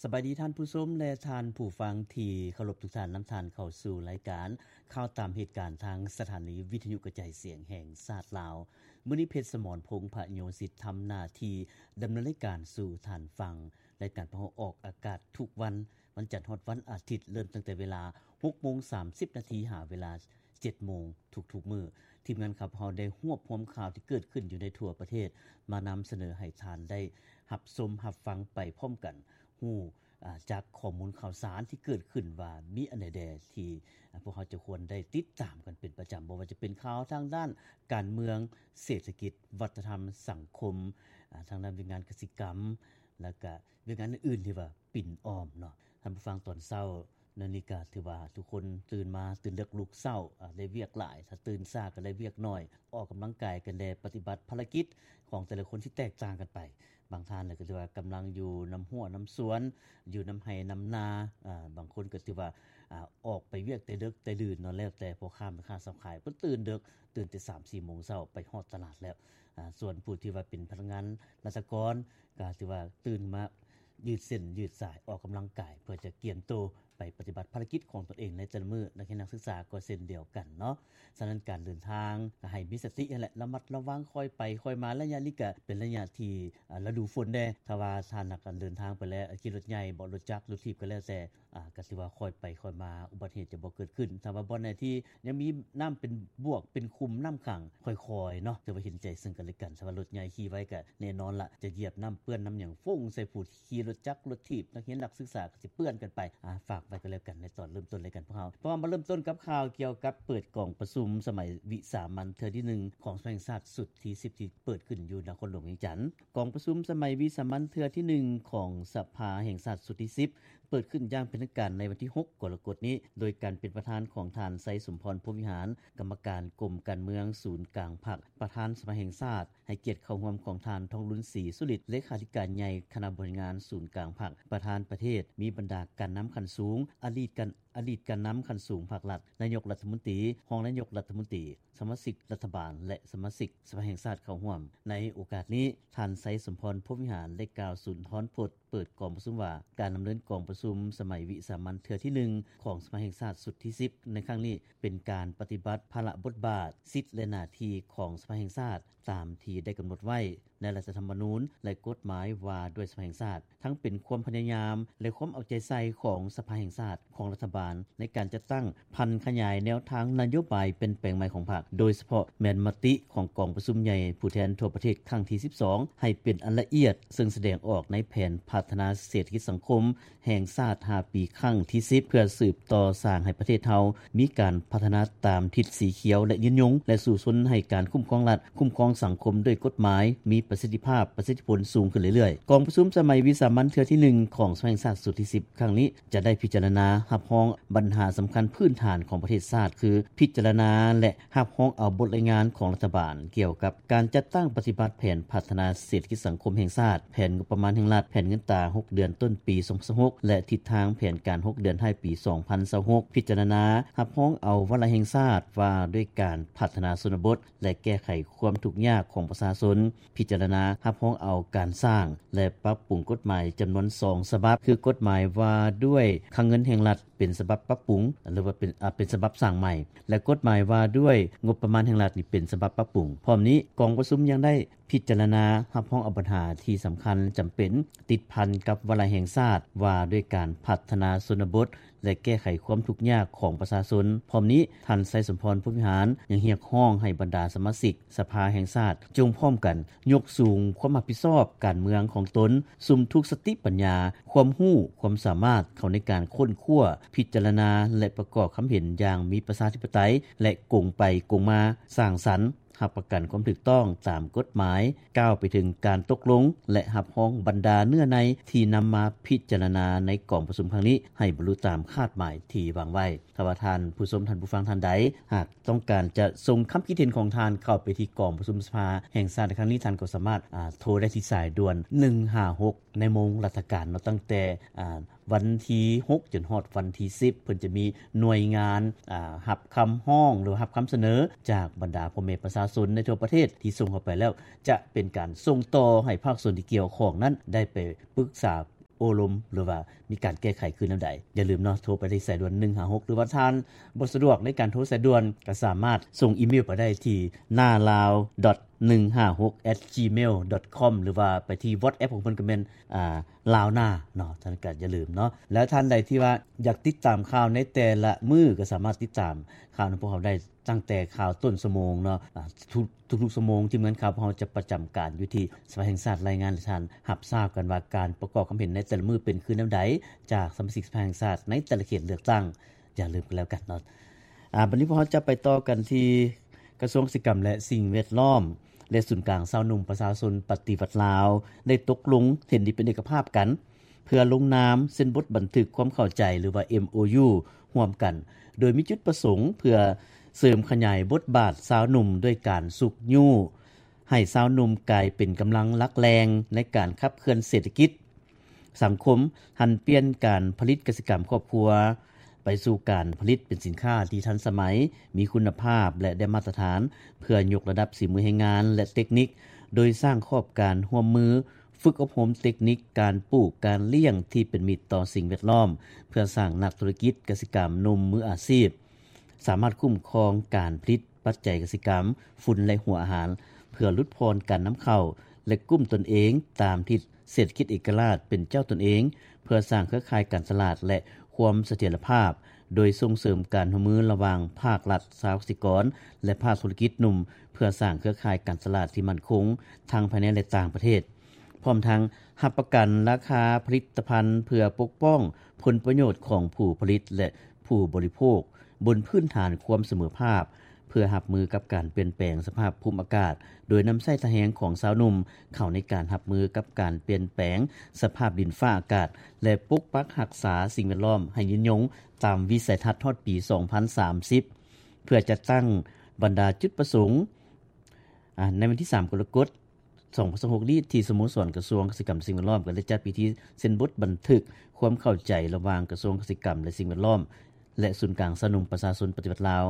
ສະບາຍດີທ່ານຜູ້ຊົມ ແລະ ທ່ານຜູ້ຟັງທີ່ເຄົາລົບທຸກທ່ານ. ນຳທ່ານເຂົ້າສູ່ລາຍການຂ່າວຕາມເຫດການ ທາງສະຖານີວິທະຍຸກະຈາຍສຽງແຫ່ງຊາດລາວ. ມື້ນີ້ ເພັດສະໝອນ ພົງພະໂຍສິດ ທຳໜ້າທີ່ດຳເນີນລາຍການສູ່ທ່ານຟັງ. ລາຍການຂອງເຮົາອອກອາກາດທຸກວັນ ວັນຈັນຮອດວັນອາທິດ ເລີ່ມຕັ້ງແຕ່ເວລາຫົກໂມງສາມສິບນາທີ ຫາເວລາເຈັດໂມງທຸກໆມື້. ທີມງານຂອງເຮົາໄດ້ຮວບຮວມຂ່າວທີ່ເກີດຂຶ້ນຢູ່ໃນທົ່ວປະເທດ ມານຳສະເໜີໃຫ້ທ່ານໄດ້ຮັບຊົມຮັບຟັງໄປພ້ອມກັນ, ຮູ້ ອາ ຈາກຂໍ້ມູນຂ່າວສານທີ່ເກີດຂຶ້ນວ່າມີອັນໃດແດ່ທີ່ ອາ ພວກເຮົາຈະຄວນໄດ້ຕິດຕາມກັນເປັນປະຈຳ, ບໍ່ວ່າຈະເປັນຂ່າວທາງດ້ານການເມືອງ, ເສດຖະກິດ, ວັດທະນະທຳ, ສັງຄົມ, ອາ ທາງດ້ານວຽກງານກະສິກຳ ແລ້ວກະວຽກງານອື່ນໆທີ່ວ່າປິ່ນອ້ອມເນາະ. ທ່ານຜູ້ຟັງ, ຕອນເຊົ້າ ແນວນີ້ກະຖືວ່າທຸກຄົນຕື່ນມາ, ຕື່ນເລິກລຸກເຊົ້າ, ອາ ໄດ້ວຽກຫຼາຍ, ຖ້າຕື່ນຊ້າກໍໄດ້ວຽກໜ້ອຍ, ອອກກຳລັງກາຍກັນແດ່, ປະຕິບັດພາລະກິດຂອງແຕ່ລະຄົນທີ່ແຕກຕ່າງກັນໄປ. ບາງທ່ານກໍຖືວ່າກຳລັງຢູ່ນຳຮົ້ວນຳສວນ, ຢູ່ນຳໄຮ່ນຳນາ, ອາ ບາງຄົນກໍຖືວ່າ ອາ ອອກໄປວຽກແຕ່ເດິກແຕ່ດື່ນເນາະ, ແລ້ວແຕ່ພໍ່ຄ້າແມ່ຄ້າຊາວຂາຍ. ເພິ່ນຕື່ນເດິກ, ຕື່ນແຕ່ສາມສີ່ໂມງເຊົ້າ ໄປຮອດຕະຫຼາດແລ້ວ. ອາ ສ່ວນຜູ້ທີ່ວ່າເປັນພະນັກງານລັດຖະກອນ ກໍຖືວ່າຕື່ນມາ ຢືດເສັ້ນຢືດສາຍ ອອກກຳລັງກາຍ ເພື່ອຈະກຽມໂຕໄປປະຕິບັດພາລະກິດຂອງຕົນເອງໃນແຕ່ລະມື້. ນັກຮຽນນັກສຶກສາກໍເຊັ່ນດຽວກັນເນາະ. ສະນັ້ນການເດີນທາງກໍໃຫ້ມີສະຕິຫັ້ນແຫຼະ, ລະມັດລະວັງ, ຄ່ອຍໄປຄ່ອຍມາ. ໄລຍະນີ້ກໍເປັນໄລຍະທີ່ ອາ ລະດູຝົນແດ່. ຖ້າວ່າທ່ານຫາກເດີນທາງໄປແລ້ວ ຂີ່ລົດໃຫຍ່ບໍ ລົດຈັກ ລົດຖີບກໍແລ້ວແຕ່ ອາ ກໍຖືວ່າຄ່ອຍໄປຄ່ອຍມາ, ອຸບັດເຫດຈະບໍ່ເກີດຂຶ້ນ. ຖ້າວ່າບ່ອນໃດທີ່ຍັງມີນ້ຳເປັນບວກເປັນຂຸມ, ນ້ຳຂັງ, ຄ່ອຍໆເນາະ, ຖືວ່າເຫັນໃຈເຊິ່ງກັນແລະກັນ. ຖ້າວ່າລົດໃຫຍ່ຂີ່ໄວກໍແນ່ນອນລະ ຈະຢຽບນ້ຳເປື້ອນນ້ຳຫຍັງ ຟົ້ງໃສ່ຜູ້ທີ່ຂີ່ລົດຈັກລົດຖີບ, ນັກຮຽນນັກສຶກສາກໍຊິເປື້ອນກັນໄປ. ອາ ຝາກໄວ້ກໍແລ້ວກັນໃນຕອນເລີ່ມຕົ້ນລາຍການພວກເຮົາ. ເພາະວ່າມາເລີ່ມຕົ້ນກັບຂ່າວກ່ຽວກັບເປີດກອງປະຊຸມສະໄໝວິສາມັນເທື່ອທີໜຶ່ງຂອງສະພາແຫ່ງຊາດຊຸດທີສິບ ທີ່ເປີດຂຶ້ນຢູ່ນະຄອນຫຼວງວຽງຈັນ. ກອງປະຊຸມສະໄໝວິສາມັນເທື່ອທີໜຶ່ງຂອງສະພາແຫ່ງຊາດຊຸດທີສິບ ເປີດຂຶ້ນຢ່າງເປັນທາງການໃນວັນທີຫົກ ກໍລະກົດນີ້ ໂດຍການເປັນປະທານຂອງທ່ານ ໄຊສົມພອນ ພົມວິຫານ ກຳມະການກົມການເມືອງສູນກາງພັກ, ປະທານສະພາແຫ່ງຊາດ, ໃຫ້ກຽດເຂົ້າຮ່ວມຂອງທ່ານ ທອງລຸນ ສີສຸລິດ ເລຂາທິການໃຫຍ່ຄະນະບໍລິຫານງານສູນກາງພັກ, ປະທານປະເທດ, ມີບັນດາການນຳຂັ້ນສູງ, ອະດີດການ ອະດີດການນຳຂັ້ນສູງພັກລັດ, ນາຍົກລັດຖະມົນຕີ, ຮອງນາຍົກລັດຖະມົນຕີ, ສະມາຊິກລັດຖະບານ ແລະ ສະມາຊິກສະພາແຫ່ງຊາດເຂົ້າຮ່ວມ. ໃນໂອກາດນີ້, ທ່ານ ໄຊສົມພອນ ພົມວິຫານ ໄດ້ກ່າວສຸນທອນພົດເປີດກອງປະຊຸມວ່າ ການດຳເນີນກອງປະຊຸມສະໄໝວິສາມັນເທື່ອທີໜຶ່ງຂອງສະພາແຫ່ງຊາດຊຸດທີສິບ ໃນຄັ້ງນີ້ ເປັນການປະຕິບັດພາລະບົດບາດ, ສິດ ແລະ ໜ້າທີ່ຂອງສະພາແຫ່ງຊາດ ຕາມທີ່ໄດ້ກຳນົດໄວ້ໃນລັດຖະທຳມະນູນ ແລະ ກົດໝາຍວ່າດ້ວຍສະພາແຫ່ງຊາດ, ທັງເປັນຄວາມພະຍາຍາມ ແລະ ຄວາມເອົາໃຈໃສ່ຂອງສະພາແຫ່ງຊາດ, ຂອງລັດຖະບານ ໃນການຈັດຕັ້ງຜັນຂະຫຍາຍແນວທາງນະໂຍບາຍປ່ຽນແປງໃໝ່ຂອງພັກ, ໂດຍສະເພາະແມ່ນມະຕິຂອງກອງປະຊຸມໃຫຍ່ຜູ້ແທນທົ່ວປະເທດຄັ້ງທີສິບສອງ ໃຫ້ເປັນອັນລະອຽດ, ເຊິ່ງສະແດງອອກໃນແຜນພັດທະນາເສດຖະກິດສັງຄົມ ແຫ່ງຊາດຫ້າປີຄັ້ງທີສິບ ເພື່ອສືບຕໍ່ສ້າງໃຫ້ປະເທດເຮົາມີການພັດທະນາຕາມທິດສີຂຽວ ແລະ ຍືນຍົງ ແລະ ສູ້ຊົນໃຫ້ການຄຸ້ມຄອງລັດ, ຄຸ້ມຄອງສັງຄົມດ້ວຍກົດໝາຍ ມີປະສິດທິພາບ, ປະສິດທິຜົນສູງຂຶ້ນເລື້ອຍໆ. ກອງປະຊຸມສະໄໝວິສາມັນເທື່ອທີໜຶ່ງຂອງສະພາແຫ່ງຊາດຊຸດທີສິບ ຄັ້ງນີ້ ຈະໄດ້ພິຈາລະນາຮັບຮອງບັນຫາສຳຄັນພື້ນຖານຂອງປະເທດຊາດ ຄື ພິຈາລະນາ ແລະ ຮັບຮອງເອົາບົດລາຍງານຂອງລັດຖະບານກ່ຽວກັບການຈັດຕັ້ງປະຕິບັດແຜນພັດທະນາເສດຖະກິດສັງຄົມແຫ່ງຊາດ, ແຜນງົບປະມານແຫ່ງລັດ, ແຜນເງິນຕາຫົກເດືອນຕົ້ນປີສອງພັນຊາວຫົກ ແລະ ທິດທາງແຜນການຫົກເດືອນທ້າຍປີສອງພັນຊາວຫົກ, ພິຈາລະນາຮັບຮອງເອົາວາລະແຫ່ງຊາດວ່າດ້ວຍການພັດທະນາຊົນນະບົດ ແລະ ແກ້ໄຂຄວາມທຸກຍາກຂອງປະຊາຊົນ, ພິຈາລະນາຮັບຮອງເອົາການສ້າງ ແລະ ປັບປຸງກົດໝາຍຈຳນວນສອງສະບັບ ຄື ກົດໝາຍວ່າດ້ວຍຄັງເງິນແຫ່ງລັດ ເປັນສະບັບປັບປຸງ ຫຼືວ່າເປັນ ອາ ເປັນສະບັບສ້າງໃໝ່ ແລະ ກົດໝາຍວ່າດ້ວຍງົບປະມານແຫ່ງລັດນີ້ເປັນສະບັບປັບປຸງ. ພ້ອມນີ້ ກອງປະຊຸມຍັງໄດ້ພິຈາລະນາຮັບຮອງເອົາບັນຫາທີ່ສຳຄັນຈຳເປັນ ຕິດພັນກັບວາລະແຫ່ງຊາດວ່າດ້ວຍການພັດທະນາຊົນນະບົດ ແລະ ແກ້ໄຂຄວາມທຸກຍາກຂອງປະຊາຊົນ. ພ້ອມນີ້ ທ່ານ ໄຊສົມພອນ ພົມວິຫານ ຍັງຮຽກຮ້ອງໃຫ້ບັນດາສະມາຊິກ ສະພາແຫ່ງຊາດ ຈົ່ງພ້ອມກັນຍົກສູງຄວາມຮັບຜິດຊອບການເມືອງຂອງຕົນ, ສຸມທຸກສະຕິປັນຍາ, ຄວາມຮູ້, ຄວາມສາມາດເຂົ້າໃນການຄົ້ນຄວ້າ, ພິຈາລະນາ ແລະ ປະກອບຄຳເຫັນຢ່າງມີປະຊາທິປະໄຕ ແລະ ກົງໄປກົງມາ, ສ້າງສັນ, ຮັບປະກັນຄວາມຖືກຕ້ອງຕາມກົດໝາຍ, ກ້າວໄປເຖິງການຕົກລົງ ແລະ ຮັບຮອງບັນດາເນື້ອໃນທີ່ນຳມາພິຈາລະນາໃນກອງປະຊຸມຄັ້ງນີ້ ໃຫ້ບັນລຸຕາມຄາດໝາຍທີ່ວາງໄວ້. ຖ້າວ່າທ່ານຜູ້ຊົມ, ທ່ານຜູ້ຟັງທ່ານໃດ ຫາກຕ້ອງການຈະສົ່ງຄຳຄິດເຫັນຂອງທ່ານເຂົ້າໄປທີ່ກອງປະຊຸມສະພາແຫ່ງຊາດໃນຄັ້ງນີ້, ທ່ານກໍສາມາດ ອາ ໂທໄດ້ທີ່ສາຍດ່ວນໜຶ່ງຫ້າຫົກ ໃນໂມງລັດຖະການເນາະ, ຕັ້ງແຕ່ ອາ ວັນທີຫົກ ຈົນຮອດວັນທີສິບ ເພິ່ນຈະມີໜ່ວຍງານ ອາ ຮັບຄຳຮ້ອງ ຫຼື ຮັບຄຳສະເໜີຈາກບັນດາພໍ່ແມ່ປະຊາຊົນໃນທົ່ວປະເທດທີ່ສົ່ງເຂົ້າໄປແລ້ວ ຈະເປັນການສົ່ງຕໍ່ໃຫ້ພາກສ່ວນທີ່ກ່ຽວຂ້ອງນັ້ນໄດ້ໄປປຶກສາ ໂອ້ລົມ ຫຼືວ່າມີການແກ້ໄຂຄືແນວໃດ. ຢ່າລືມເນາະ ໂທໄປທີ່ສາຍດ່ວນໜຶ່ງຫ້າຫົກ ຫຼືວ່າທ່ານບໍ່ສະດວກໃນການໂທສາຍດ່ວນ ກໍສາມາດສົ່ງອີເມວໄປໄດ້ທີ່ nalao dot ໜຶ່ງຫ້າຫົກ at gmail dot com ຫຼືວ່າໄປທີ່ WhatsApp ຂອງເພິ່ນກໍແມ່ນ ອ່າ ລາວນາເນາະ. ທ່ານກໍຢ່າລືມເນາະ ແລ້ວທ່ານໃດທີ່ວ່າຢາກຕິດຕາມຂ່າວໃນແຕ່ລະມື້ ກໍສາມາດຕິດຕາມຂ່າວນຳພວກເຮົາໄດ້ ຕັ້ງແຕ່ຂ່າວຕົ້ນຊົ່ວໂມງເນາະ ອ່າ ທຸກ ທຸກໆຊົ່ວໂມງ ທີມງານຂ່າວພວກເຮົາຈະປະຈຳການຢູ່ທີ່ສະພາແຫ່ງຊາດ ລາຍງານໃຫ້ທ່ານຮັບຊາບກັນວ່າ ການປະກອບຄວາມເຫັນໃນແຕ່ລະມື້ເປັນຄືແນວໃດ ຈາກສະມາຊິກສະພາແຫ່ງຊາດໃນແຕ່ລະເຂດເລືອກຕັ້ງ. ຢ່າລືມກັນແລ້ວກັນເນາະ. ອາ ບັດນີ້ພວກເຮົາຈະໄປຕໍ່ກັນທີ່ກະຊວງກະສິກຳ ແລະ ສິ່ງແວດລ້ອມ ແລະ ສູນກາງຊາວໜຸ່ມປະຊາຊົນປະຕິວັດລາວ ໄດ້ຕົກລົງເຫັນດີເປັນເອກະພາບກັນ ເພື່ອລົງນາມເຊັນບົດບັນທຶກຄວາມເຂົ້າໃຈ ຫຼືວ່າ ເອັມໂອຢູ ຮ່ວມກັນ ໂດຍມີຈຸດປະສົງເພື່ອເສີມຂະຫຍາຍບົດບາດຊາວໜຸ່ມ ດ້ວຍການຊຸກຍູ້ໃຫ້ຊາວໜຸ່ມກາຍເປັນກຳລັງຫຼັກແຫຼ່ງໃນການຂັບເຄື່ອນເສດຖະກິດ ສັງຄົມ, ຫັນປ່ຽນການຜະລິດກະສິກຳຄອບຄົວ ໄປສູ່ການຜະລິດເປັນສິນຄ້າທີ່ທັນສະໄໝ, ມີຄຸນນະພາບ ແລະ ໄດ້ມາດຕະຖານ ເພື່ອຍົກລະດັບສີມືແຮງງານ ແລະ ເຕັກນິກ, ໂດຍສ້າງຂອບການຮ່ວມມື ຝຶກອົບຮົມເຕັກນິກການປູກການລ້ຽງທີ່ເປັນມິດຕໍ່ສິ່ງແວດລ້ອມ ເພື່ອສ້າງນັກທຸລະກິດກະສິກຳໜຸ່ມມືອາຊີບ ສາມາດຄຸ້ມຄອງການຜະລິດປັດໄຈກະສິກຳ, ຝຸ່ນ ແລະ ຫົວອາຫານ ເພື່ອຫຼຸດຜ່ອນການນຳເຂົ້າ ແລະ ກຸ້ມຕົນເອງຕາມທິດເສດຖະກິດເອກະລາດເປັນເຈົ້າຕົນເອງ, ເພື່ອສ້າງເຄືອຂ່າຍການຕະຫຼາດ ແລະ ຄວາມສະຖຽນລະພາບ ໂດຍສົ່ງເສີມການຮ່ວມມືລະຫວ່າງພາກລັດ, ຊາວກະສິກອນ ແລະ ພາກທຸລະກິດໜຸ່ມ ເພື່ອສ້າງເຄືອຂ່າຍການຕະຫຼາດທີ່ໝັ້ນຄົງ ທັງພາຍໃນ ແລະ ຕ່າງປະເທດ. ພ້ອມທັງຮັບປະກັນລາຄາຜະລິດຕະພັນ ເພື່ອປົກປ້ອງຜົນປະໂຫຍດຂອງຜູ້ຜະລິດ ແລະ ຜູ້ບໍລິໂພກ ບົນພື້ນຖານຄວາມສະເໝີພາບ ເພື່ອຮັບມືກັບການປ່ຽນແປງສະພາບພູມອາກາດ ໂດຍນຳໃຊ້ທ່າແຮງຂອງຊາວໜຸ່ມເຂົ້າໃນການຮັບມືກັບການປ່ຽນແປງສະພາບດິນຟ້າອາກາດ ແລະ ປົກປັກຮັກສາສິ່ງແວດລ້ອມໃຫ້ຍືນຍົງຕາມວິໄສທັດຮອດປີສອງພັນສາມສິບ ເພື່ອຈັດຕັ້ງບັນດາຈຸດປະສົງ ອາ ໃນວັນທີສາມ ກໍລະກົດ ສອງພັນຊາວຫົກນີ້ ທີ່ສະໂມສອນກະຊວງກະສິກຳ ແລະ ສິ່ງແວດລ້ອມ ກໍໄດ້ຈັດພິທີເຊັນບົດບັນທຶກຄວາມເຂົ້າໃຈລະຫວ່າງກະຊວງກະສິກຳ ແລະ ສິ່ງແວດລ້ອມ ແລະ ສູນກາງຊາວໜຸ່ມປະຊາຊົນປະຕິວັດລາວ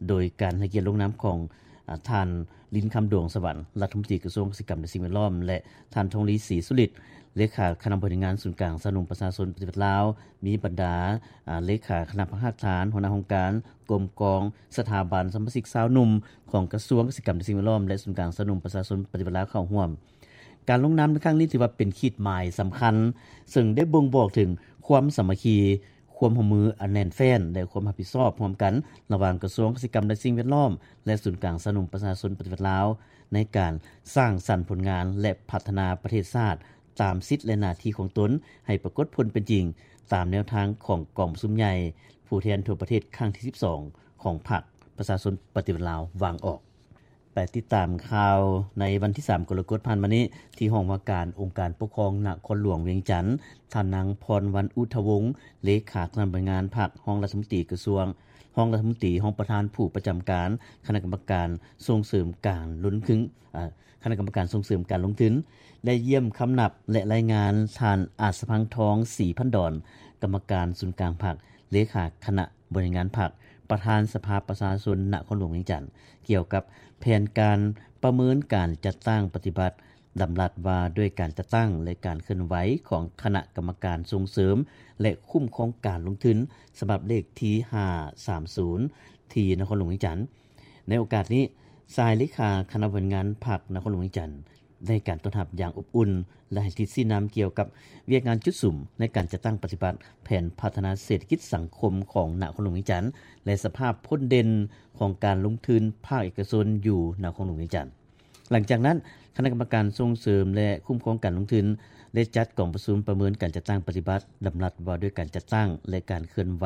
ໂດຍການໃຫ້ກຽດລົງນາມຂອງ ອາ ທ່ານ ລິນຄຳ ດວງສະຫວັນ ລັດຖະມົນຕີກະຊວງກະສິກຳ ແລະ ສິ່ງແວດລ້ອມ ແລະ ທ່ານ ທອງລີ ສີສຸລິດ ເລຂາຄະນະບໍລິຫານງານສູນກາງຊາວໜຸ່ມປະຊາຊົນປະຕິວັດລາວ, ມີບັນດາ ອາ ເລຂາຄະນະພັກຮາກຖານ, ຫົວໜ້າຫ້ອງການ, ກົມກອງ, ສະຖາບັນ, ສະມາຊິກຊາວໜຸ່ມຂອງກະຊວງກະສິກຳ ແລະ ສິ່ງແວດລ້ອມ ແລະ ສູນກາງຊາວໜຸ່ມປະຊາຊົນປະຕິວັດລາວເຂົ້າຮ່ວມ. ການລົງນາມໃນຄັ້ງນີ້ຖືວ່າເປັນຂີດໝາຍສຳຄັນ ເຊິ່ງໄດ້ບົ່ງບອກເຖິງຄວາມສາມັກຄີ, ຄວາມຮ່ວມມືອັນແໜ້ນແຟ້ນ ແລະ ຄວາມຮັບຜິດຊອບຮ່ວມກັນລະຫວ່າງກະຊວງກະສິກຳ ແລະ ສິ່ງແວດລ້ອມ ແລະ ສູນກາງຊາວໜຸ່ມປະຊາຊົນປະຕິວັດລາວ ໃນການສ້າງສັນຜົນງານ ແລະ ພັດທະນາປະເທດຊາດ ຕາມສິດ ແລະ ໜ້າທີ່ຂອງຕົນໃຫ້ປາກົດຜົນເປັນຈິງ ຕາມແນວທາງຂອງກອງປະຊຸມໃຫຍ່ຜູ້ແທນທົ່ວປະເທດຄັ້ງທີສິບສອງ ຂອງພັກປະຊາຊົນປະຕິວັດລາວວາງອອກ. ໄປຕິດຕາມຂ່າວໃນວັນທີສາມ ກໍລະກົດຜ່ານມານີ້ ທີ່ຫ້ອງວ່າການອົງການປົກຄອງນະຄອນຫຼວງວຽງຈັນ, ທ່ານນາງ ພອນວັນ ອຸດທະວົງ ເລຂາຄະນະບໍລິຫານງານພັກ, ຮອງລັດຖະມົນຕີກະຊວງ, ຮອງລັດຖະມົນຕີ, ຮອງປະທານຜູ້ປະຈຳການຄະນະກຳມະການສົ່ງເສີມການລົງທຶນ, ອາ, ຄະນະກຳມະການສົ່ງເສີມການລົງທຶນ ໄດ້ຢ້ຽມຄຳນັບ ແລະ ລາຍງານທ່ານ ອາດສະພັງທອງ ສີພັນດອນ ກຳມະການສູນກາງພັກ, ເລຂາຄະນະ ບໍລິຫານງານພັກ, ປະທານສະພາປະຊາຊົນນະຄອນຫຼວງວຽງຈັນ ກ່ຽວກັບແຜນການປະເມີນການຈັດຕັ້ງປະຕິບັດດຳລັດວ່າດ້ວຍການຈັດຕັ້ງ ແລະ ການເຄື່ອນໄຫວຂອງຄະນະກຳມະການສົ່ງເສີມ ແລະ ຄຸ້ມຄອງການລົງທຶນ ສະບັບເລກທີຫ້າສາມສູນ ທີ່ນະຄອນຫຼວງວຽງຈັນ. ໃນໂອກາດນີ້, ສະຫາຍເລຂາຄະນະບໍລິຫານງານພັກນະຄອນຫຼວງວຽງຈັນ ໃຫ້ການຕ້ອນຮັບຢ່າງອົບອຸ່ນ ແລະ ໃຫ້ທິດຊີ້ນຳກ່ຽວກັບວຽກງານຈຸດສຸມໃນການຈັດຕັ້ງປະຕິບັດແຜນພັດທະນາເສດຖະກິດສັງຄົມຂອງນະຄອນຫຼວງວຽງຈັນ ແລະ ສະພາບພົ້ນເດັ່ນຂອງການລົງທຶນພາກເອກະຊົນຢູ່ນະຄອນຫຼວງວຽງຈັນ. ຫຼັງຈາກນັ້ນ, ຄະນະກຳມະການສົ່ງເສີມ ແລະ ຄຸ້ມຄອງການລົງທຶນ ໄດ້ຈັດກອງປະຊຸມປະເມີນການຈັດຕັ້ງປະຕິບັດດຳລັດວ່າດ້ວຍການຈັດຕັ້ງ ແລະ ການເຄື່ອນໄຫວ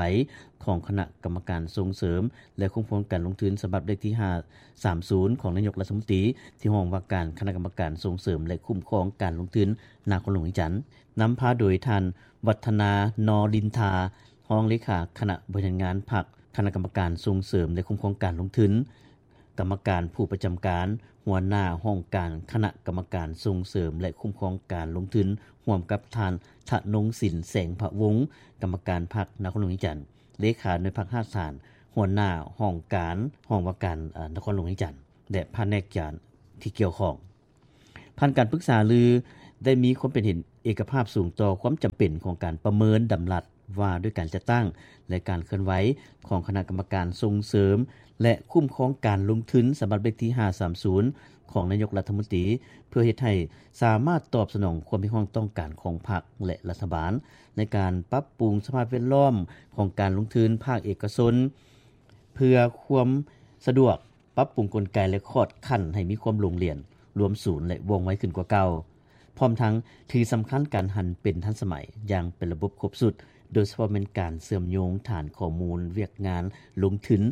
ຂອງຄະນະກຳມະການສົ່ງເສີມ ແລະ ຄຸ້ມຄອງການລົງທຶນ ສະບັບເລກທີຫ້າສາມສູນ ຂອງນາຍົກລັດຖະມົນຕີ ທີ່ຫ້ອງວ່າການຄະນະກຳມະການສົ່ງເສີມ ແລະ ຄຸ້ມຄອງການລົງທຶນນະຄອນຫຼວງວຽງຈັນ, ນຳພາໂດຍທ່ານ ວັດທະນາ ນໍລິນທາ ຮອງເລຂາຄະນະບໍລິຫານງານພັກ, ຄະນະກຳມະການສົ່ງເສີມ ແລະ ຄຸ້ມຄອງການລົງທຶນ, ກຳມະການຜູ້ປະຈຳການ, ຫົວໜ້າຫ້ອງການຄະນະກຳມະການສົ່ງເສີມ ແລະ ຄຸ້ມຄອງການລົງທຶນ, ຮ່ວມກັບທ່ານ ທະນົງສິນ ແສງພະວົງ ກຳມະການພັກນະຄອນຫຼວງວຽງຈັນ, ເລຂາໜ່ວຍພັກຮາກຖານ, ຫົວໜ້າຫ້ອງການ ຫ້ອງວ່າການ ອາ ນະຄອນຫຼວງວຽງຈັນ ແລະ ພະແນກການທີ່ກ່ຽວຂ້ອງ. ຜ່ານການປຶກສາລື ໄດ້ມີຄວາມເຫັນເອກະພາບສູງຕໍ່ຄວາມຈຳເປັນຂອງການປະເມີນດຳລັດວ່າດ້ວຍການຈັດຕັ້ງ ແລະ ການເຄື່ອນໄຫວຂອງຄະນະກຳມະການສົ່ງເສີມ ແລະ ຄຸ້ມຄອງການລົງທຶນ ສະບັບເລກທີຫ້າສາມສູນ ຂອງນາຍົກລັດຖະມົນຕີ ເພື່ອເຮັດໃຫ້ສາມາດຕອບສະໜອງຄວາມຮຽກຮ້ອງຕ້ອງການຂອງພັກ ແລະ ລັດຖະບານ ໃນການປັບປຸງສະພາບແວດລ້ອມຂອງການລົງທຶນພາກເອກະຊົນ ເພື່ອຄວາມສະດວກ ປັບປຸງກົນໄກ ແລະ ຂອດຂັ້ນໃຫ້ມີຄວາມໂລ່ງຫຼຽນ, ລວມສູນ ແລະ ວ່ອງໄວຂຶ້ນກວ່າເກົ່າ, ພ້ອມທັງຖືສຳຄັນການຫັນເປັນທັນສະໄໝຢ່າງເປັນລະບົບຄົບຊຸດ, ໂດຍສະເພາະແມ່ນການເຊື່ອມໂຍງຖານຂໍ້ມູນວຽກງານລົງທຶນ,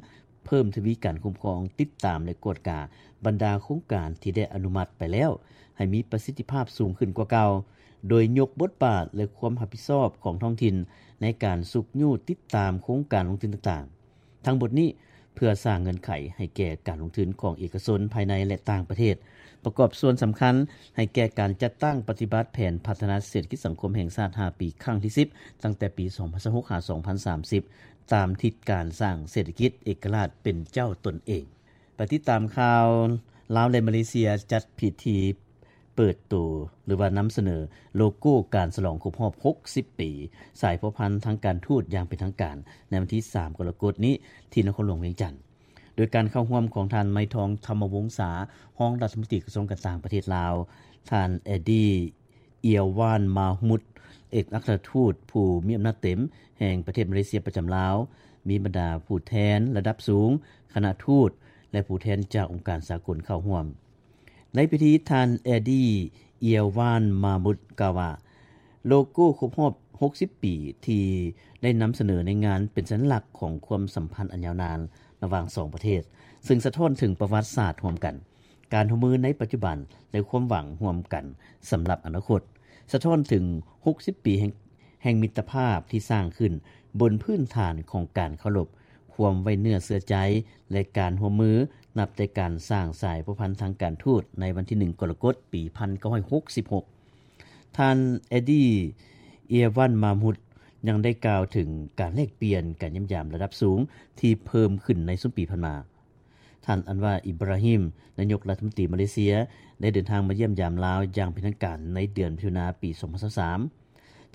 ເພີ່ມທະວີການຄຸ້ມຄອງ, ຕິດຕາມ ແລະ ກວດກາບັນດາໂຄງການທີ່ໄດ້ອະນຸມັດໄປແລ້ວ ໃຫ້ມີປະສິດທິພາບສູງຂຶ້ນກວ່າເກົ່າ, ໂດຍຍົກບົດບາດ ແລະ ຄວາມຮັບຜິດຊອບຂອງທ້ອງຖິ່ນໃນການຊຸກຍູ້ຕິດຕາມໂຄງການລົງທຶນຕ່າງໆ. ທັງໝົດນີ້ເພື່ອສ້າງເງື່ອນໄຂໃຫ້ແກ່ການລົງທຶນຂອງເອກະຊົນພາຍໃນ ແລະ ຕ່າງປະເທດ, ປະກອບສ່ວນສຳຄັນໃຫ້ແກ່ການຈັດຕັ້ງປະຕິບັດແຜນພັດທະນາເສດຖະກິດສັງຄົມແຫ່ງຊາດຫ້າປີ ຄັ້ງທີສິບ ຕັ້ງແຕ່ປີສອງພັນຊາວຫົກ ຫາ ສອງພັນສາມສິບ ຕາມທິດການສ້າງເສດຖະກິດເອກະລາດເປັນເຈົ້າຕົນເອງ. ໄປຕິດຕາມຂ່າວ, ລາວ ແລະ ມາເລເຊຍ ຈັດພິທີເປີດໂຕ ຫຼືວ່ານຳສະເໜີໂລໂກ້ການສະຫຼອງຄົບຮອບຫົກສິບປີສາຍພົວພັນທາງການທູດຢ່າງເປັນທາງການ ໃນວັນທີສາມ ກໍລະກົດນີ້ ທີ່ນະຄອນຫຼວງວຽງຈັນ, ໂດຍການເຂົ້າຮ່ວມຂອງທ່ານ ໄມທອງ ທຳມະວົງສາ ຮອງລັດຖະມົນຕີກະຊວງການຕ່າງປະເທດລາວ, ທ່ານ ແອດດີ້ ເອຍວານ ມາມຸດ ເອກອັກຄະລັດທູດຜູ້ມີອຳນາດເຕັມແຫ່ງປະເທດມາເລເຊຍປະຈຳລາວ, ມີບັນດາຜູ້ແທນລະດັບສູງ, ຄະນະທູດ ແລະ ຜູ້ແທນຈາກອົງການສາກົນເຂົ້າຮ່ວມ. ໃນພິທີ ທ່ານ ແອດີ້ ເອຍວານ ມາມຸດ ກ່າວວ່າ ໂລໂກ້ຄົບຮອບຫົກສິບປີທີ່ໄດ້ນຳສະເໜີໃນງານເປັນສັນລັກຂອງຄວາມສຳພັນອັນຍາວນານລະຫວ່າງສອງປະເທດ, ເຊິ່ງສະທ້ອນເຖິງປະຫວັດສາດຮ່ວມກັນ, ການຮ່ວມມືໃນປັດຈຸບັນ ແລະ ຄວາມຫວັງຮ່ວມກັນສຳລັບອະນາຄົດ, ສະທ້ອນເຖິງຫົກສິບປີແຫ່ງ ແຫ່ງມິດຕະພາບທີ່ສ້າງຂຶ້ນບົນພື້ນຖານຂອງການເຄົາລົບ, ຄວາມໄວ້ເນື້ອເຊື່ອໃຈ ແລະ ການຮ່ວມມື ນັບແຕ່ການສ້າງສາຍພົວພັນທາງການທູດໃນວັນທີໜຶ່ງ ກໍລະກົດ ປີພັນເກົ້າຮ້ອຍຫົກສິບຫົກ. ທ່ານ ແອດີ້ ເອຍວານ ມາມຸດ ຍັງໄດ້ກ່າວເຖິງການແລກປ່ຽນການຢ້ຽມຢາມລະດັບສູງທີ່ເພີ່ມຂຶ້ນໃນຊຸມປີຜ່ານມາ. ທ່ານ ອັນວາ ອິບຣາຮິມ ນາຍົກລັດຖະມົນຕີມາເລເຊຍ ໄດ້ເດີນທາງມາຢ້ຽມຢາມລາວຢ່າງເປັນທາງການໃນເດືອນມິຖຸນາປີສອງພັນຊາວສາມ.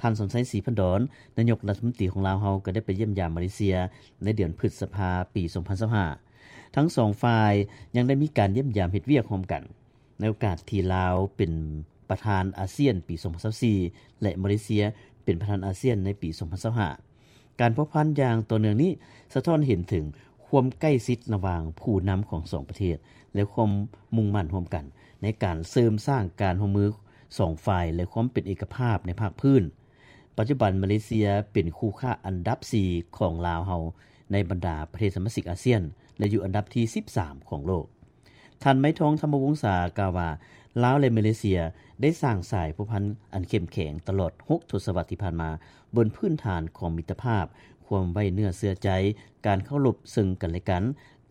ທ່ານ ສອນໄຊ ສີພັນດອນ ນາຍົກລັດຖະມົນຕີຂອງລາວເຮົາກໍໄດ້ໄປຢ້ຽມຢາມມາເລເຊຍໃນເດືອນພຶດສະພາປີສອງພັນຊາວຫ້າ. ທັງສອງຝ່າຍຍັງໄດ້ມີການຢ້ຽມຢາມເຮັດວຽກຮ່ວມກັນ ໃນໂອກາດທີ່ລາວເປັນປະທານອາຊຽນປີສອງພັນຊາວສີ່ ແລະ ມາເລເຊຍເປັນປະທານອາຊຽນໃນປີສອງພັນຊາວຫ້າ. ການພົວພັນຢ່າງຕໍ່ເນື່ອງນີ້ສະທ້ອນເຫັນເຖິງຄວາມໃກ້ຊິດລະຫວ່າງຜູ້ນຳຂອງສອງປະເທດ ແລະ ຄວາມມຸ່ງໝັ້ນຮ່ວມກັນໃນການເສີມສ້າງການຮ່ວມມືສອງຝ່າຍ ແລະ ຄວາມເປັນເອກະພາບໃນພາກພື້ນ. ປັດຈຸບັນມາເລເຊຍເປັນຄູ່ຄ້າອັນດັບສີ່ຂອງລາວເຮົາໃນບັນດາປະເທດສະມາຊິກອາຊຽນ ແລະ ຢູ່ອັນດັບທີສິບສາມຂອງໂລກ. ທ່ານ ໄມທອງ ທຳມະວົງສາ ກ່າວວ່າ ລາວ ແລະ ມາເລເຊຍໄດ້ສ້າງສາຍພົວພັນອັນເຂັ້ມແຂງຕະຫຼອດຫົກທົດສະວັດທີ່ຜ່ານມາ ບົນພື້ນຖານຂອງມິດຕະພາບ, ຄວາມໄວ້ເນື້ອເຊື່ອໃຈ, ການເຄົາລົບເຊິ່ງກັນແລະກັນ,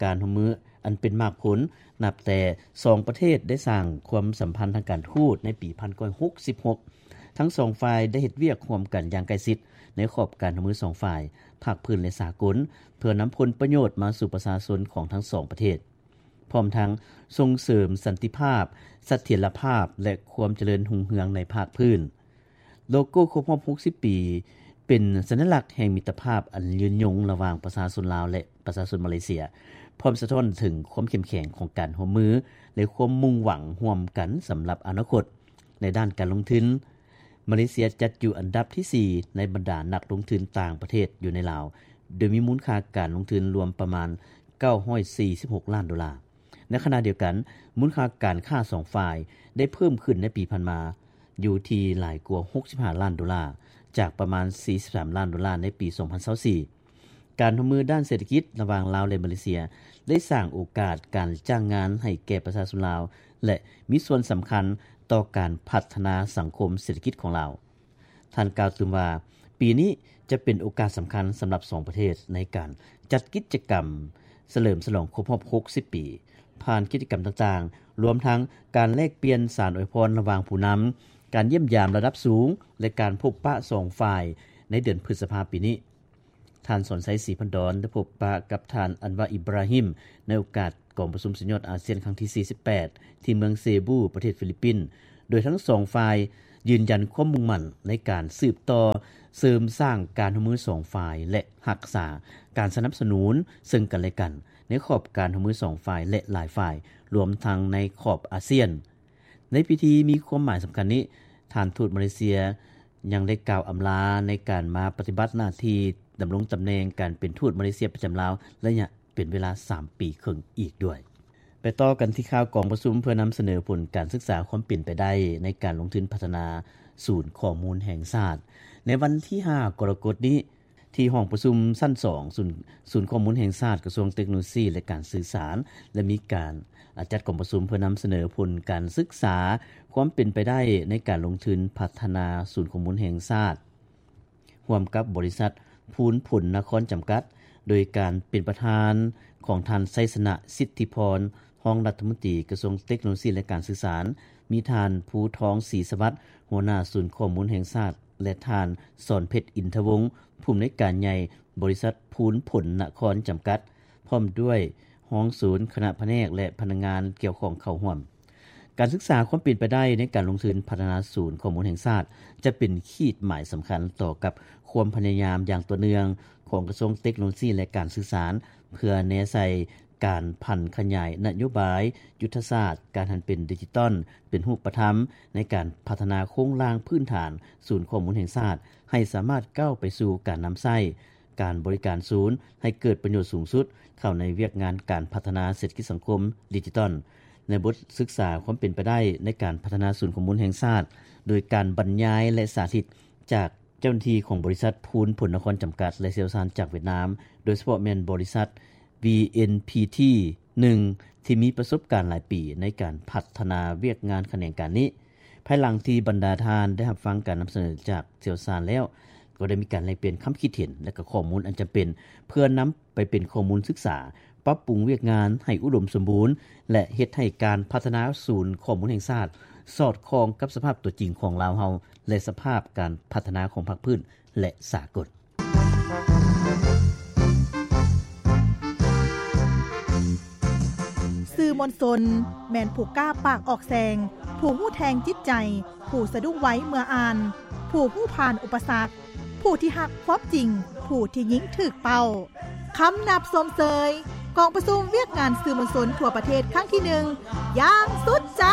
ການຮ່ວມມືອັນເປັນໝາກຜົນ ນັບແຕ່ສອງປະເທດໄດ້ສ້າງຄວາມສຳພັນທາງການທູດໃນປີພັນເກົ້າຮ້ອຍຫົກສິບຫົກ. ທັງສອງຝ່າຍໄດ້ເຮັດວຽກຮ່ວມກັນຢ່າງໃກ້ຊິດໃນຂອບການຮ່ວມມືສອງຝ່າຍ, ພາກພື້ນ ແລະ ສາກົນ, ເພື່ອນຳຜົນປະໂຫຍດມາສູ່ປະຊາຊົນຂອງທັງສອງປະເທດ. ພ້ອມທັງສົ່ງເສີມສັນຕິພາບ, ສະຖຽນລະພາບ ແລະ ຄວາມຈະເລີນຮຸ່ງເຮືອງໃນພາກພື້ນ. ໂລໂກ້ຄົບຮອບຫົກສິບປີ ເປັນສັນຍະລັກແຫ່ງມິດຕະພາບອັນຍືນຍົງລະຫວ່າງປະຊາຊົນລາວ ແລະ ປະຊາຊົນມາເລເຊຍ, ພ້ອມສະທ້ອນເຖິງຄວາມເຂັ້ມແຂງຂອງການຮ່ວມມື ແລະ ຄວາມມຸ່ງຫວັງຮ່ວມກັນສຳລັບອະນາຄົດ. ໃນດ້ານການລົງທຶນ, ມາເລເຊຍຈັດຢູ່ອັນດັບທີສີ່ໃນບັນດານັກລົງທຶນຕ່າງປະເທດຢູ່ໃນລາວ, ໂດຍມີມູນຄ່າການລົງທຶນລວມປະມານເກົ້າຮ້ອຍສີ່ສິບຫົກລ້ານໂດລາ. ໃນຂະນະດຽວກັນ, ມູນຄ່າການຄ້າສອງຝ່າຍໄດ້ເພີ່ມຂຶ້ນໃນປີຜ່ານມາ ຢູ່ທີ່ຫຼາຍກວ່າຫົກສິບຫ້າລ້ານໂດລາ, ຈາກປະມານສີ່ສິບສາມລ້ານໂດລາໃນປີສອງພັນຊາວສີ່. ການຮ່ວມມືດ້ານເສດຖະກິດລະຫວ່າງລາວ ແລະ ມາເລເຊຍ ໄດ້ສ້າງໂອກາດການຈ້າງງານໃຫ້ແກ່ປະຊາຊົນລາວ ແລະ ມີສ່ວນສຳຄັນຕໍ່ການພັດທະນາສັງຄົມເສດຖະກິດຂອງລາວ. ທ່ານກ່າວຕື່ມວ່າ, ປີນີ້ຈະເປັນໂອກາດສຳຄັນສຳລັບສອງປະເທດໃນການຈັດກິດຈະກຳສະເຫຼີມສະຫຼອງຄົບຮອບຫົກສິບປີ, ຜ່ານກິດຈະກຳຕ່າງໆ, ລວມທັງການແລກປ່ຽນສານອວຍພອນລະຫວ່າງຜູ້ນຳ, ການຢ້ຽມຢາມລະດັບສູງ ແລະ ການພົບປະສອງຝ່າຍໃນເດືອນພຶດສະພາປີນີ້. ທ່ານ ສອນໄຊ ສີພັນດອນ ໄດ້ພົບປະກັບທ່ານ ອັນວາ ອິບຣາຮິມ ໃນໂອກາດກອງປະຊຸມສຸດຍອດອາຊຽນຄັ້ງທີສີ່ສິບແປດ ທີ່ເມືອງເຊບູ ປະເທດຟີລິບປິນ, ໂດຍທັງສອງຝ່າຍ ຢືນຢັນຄວາມມຸ້ງໝັ້ນໃນການສືບຕໍ່ເສີມສ້າງການຮ່ວມມືສອງຝ່າຍ ແລະ ຮັກສາການສະໜັບສະໜູນເຊິ່ງກັນແລະກັນ ໃນຂອບການຮ່ວມມືສອງຝ່າຍ ແລະ ຫຼາຍຝ່າຍ ລວມທັງໃນຂອບອາຊຽນ. ໃນພິທີມີຄວາມໝາຍສຳຄັນນີ້, ທ່ານທູດມາເລເຊຍຍັງໄດ້ກ່າວອຳລາໃນການມາປະຕິບັດໜ້າທີ່ດຳລົງຕຳແໜ່ງການເປັນທູດມາເລເຊຍປະຈຳລາວ ໄລຍະເປັນເວລາສາມປີເຄິ່ງອີກດ້ວຍ. ໄປຕໍ່ກັນທີ່ຂ່າວກອງປະຊຸມເພື່ອນຳສະເໜີຜົນການສຶກສາຄວາມເປັນໄປໄດ້ໃນການລົງທຶນພັດທະນາສູນຂໍ້ມູນແຫ່ງຊາດ ໃນວັນທີຫ້າ ກໍລະກົດນີ້ ທີ່ຫ້ອງປະຊຸມຊັ້ນສອງ ສູນ ສູນຂໍ້ມູນແຫ່ງຊາດ ກະຊວງເຕັກໂນໂລຊີ ແລະ ການສື່ສານ ໄດ້ມີການ ອາ ຈັດກອງປະຊຸມເພື່ອນຳສະເໜີຜົນການສຶກສາຄວາມເປັນໄປໄດ້ໃນການລົງທຶນພັດທະນາສູນຂໍ້ມູນແຫ່ງຊາດ ຮ່ວມກັບບໍລິສັດພູນຜົນນະຄອນຈຳກັດ ໂດຍການເປັນປະທານຂອງທ່ານ ໄຊຊະນະ ສິດທິພອນ ຮອງລັດຖະມົນຕີກະຊວງເຕັກໂນໂລຊີ ແລະ ການສື່ສານ, ມີທ່ານ ພູທອງ ສີສະຫວັດ ຫົວໜ້າສູນຂໍ້ມູນແຫ່ງຊາດ ແລະ ທ່ານ ສອນເພັດ ອິນທະວົງ ຜູ້ອຳນວຍການໃຫຍ່ບໍລິສັດພູນຜົນນະຄອນຈຳກັດ ພ້ອມດ້ວຍຮອງສູນ, ຄະນະພະແນກ ແລະ ພະນັກງານກ່ຽວຂ້ອງເຂົ້າຮ່ວມ. ການສຶກສາຄວາມເປັນໄປໄດ້ໃນການລົງທຶນພັດທະນາສູນຂໍ້ມູນແຫ່ງຊາດ ຈະເປັນຂີດໝາຍສຳຄັນຕໍ່ກັບຄວາມພະຍາຍາມຢ່າງຕໍ່ເນື່ອງຂອງກະຊວງເຕັກໂນໂລຊີ ແລະ ການສື່ສານ ເພື່ອແນໃສ່ການຜັນຂະຫຍາຍນະໂຍບາຍ, ຍຸດທະສາດ, ການຫັນເປັນດິຈິຕອນເປັນຮູບປະທຳ ໃນການພັດທະນາໂຄງລ່າງພື້ນຖານສູນຂໍ້ມູນແຫ່ງຊາດ ໃຫ້ສາມາດກ້າວໄປສູ່ການນຳໃຊ້ ການບໍລິການສູນໃຫ້ເກີດປະໂຫຍດສູງສຸດ ເຂົ້າໃນວຽກງານການພັດທະນາເສດຖະກິດສັງຄົມດິຈິຕອນ. ໃນບົດສຶກສາຄວາມເປັນໄປໄດ້ໃນການພັດທະນາສູນຂໍ້ມູນແຫ່ງຊາດ ໂດຍການບັນຍາຍ ແລະ ສາທິດຈາກເຈົ້າໜ້າທີ່ຂອງບໍລິສັດພູນຜົນນະຄອນຈຳກັດ ແລະ ຊ່ຽວຊານຈາກຫວຽດນາມ, ໂດຍສະເພາະແມ່ນບໍລິສັດ ວີເອັນພີທີ ໜຶ່ງ ທີ່ມີປະສົບການຫຼາຍປີໃນການພັດທະນາວຽກງານຂະແໜງການນີ້. ພາຍຫຼັງທີ່ບັນດາທ່ານໄດ້ຮັບຟັງການນຳສະເໜີຈາກຊ່ຽວຊານແລ້ວ, ກໍໄດ້ມີການແລກປ່ຽນຄຳຄິດເຫັນ ແລະ ກໍຂໍ້ມູນອັນຈຳເປັນ ເພື່ອນຳໄປເປັນຂໍ້ມູນສຶກສາ, ປັບປຸງວຽກງານໃຫ້ອຸດົມສົມບູນ ແລະ ເຮັດໃຫ້ການພັດທະນາສູນຂໍ້ມູນແຫ່ງຊາດ ສອດຄ່ອງກັບສະພາບຕົວຈິງຂອງລາວເຮົາ ແລະ ສະພາບການພັດທະນາຂອງພາກພື້ນ ແລະ ສາກົນ. ສື່ມວນຊົນ ແມ່ນຜູ້ກ້າປາກອອກແສງ, ຜູ້ຮູ້ແທງຈິດໃຈ, ຜູ້ສະດຸ້ງໄວເມື່ອອ່ານ, ຜູ້ຮູ້ຜ່ານອຸປະສັກ, ຜູ້ທີ່ຮັກຄວາມຈິງ, ຜູ້ທີ່ຍິງຖືກເປົ້າ. ຄຳນັບຊົມເຊີຍ ກອງປະຊຸມວຽກງານສື່ມວນຊົນທົ່ວປະເທດຄັ້ງທີໜຶ່ງ ຢ່າງສຸດໃຈ.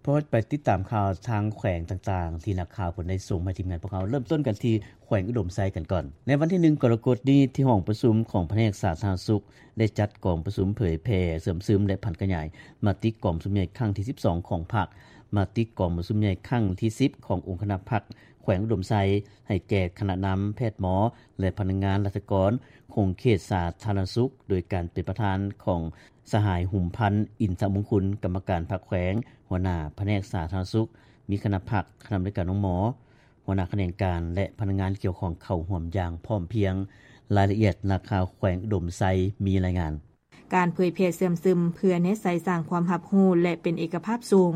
ເພື່ອໄປຕິດຕາມຂ່າວທາງແຂວງຕ່າງໆ ທີ່ນັກຂ່າວເພິ່ນໄດ້ສົ່ງມາໃຫ້ທີມງານພວກເຮົາ, ເລີ່ມຕົ້ນກັນທີ່ແຂວງອຸດົມໄຊກັນກ່ອນ. ໃນວັນທີໜຶ່ງ ກໍລະກົດນີ້, ທີ່ຫ້ອງປະຊຸມຂອງພະແນກສາທາລະນະສຸກ ໄດ້ຈັດກອງປະຊຸມເຜີຍແຜ່, ເຊື່ອມຊຶມ ແລະ ຜັນຂະຫຍາຍມະຕິກອງປະຊຸມໃຫຍ່ຄັ້ງທີສິບສອງຂອງພັກ, ມະຕິກອງປະຊຸມໃຫຍ່ຄັ້ງທີສິບຂອງອົງຄະນະພັກແຂວງອຸດົມໄຊ ໃຫ້ແກ່ຄະນະນຳ, ແພດໝໍ ແລະ ພະນັກງານລັດຖະກອນຂົງເຂດສາທາລະນະສຸກ ໂດຍການເປັນປະທານຂອງສະຫາຍ ຫຸມພັນ ອິນທະມຸງຄຸນ ກຳມະການພັກແຂວງ, ຫົວໜ້າພະແນກສາທາລະນະສຸກ, ມີຄະນະພັກ, ຄະນະອຳນວຍການໂຮງໝໍ, ຫົວໜ້າຂະແໜງການ ແລະ ພະນັກງານກ່ຽວຂ້ອງເຂົ້າຮ່ວມຢ່າງພ້ອມພຽງ. ລາຍລະອຽດນັກຂ່າວແຂວງອຸດົມໄຊມີລາຍງານ. ການເຜີຍແຜ່ເຊື່ອມຊຶມ ເພື່ອແນໃສ່ສ້າງຄວາມຮັບຮູ້ ແລະ ເປັນເອກະພາບສູງ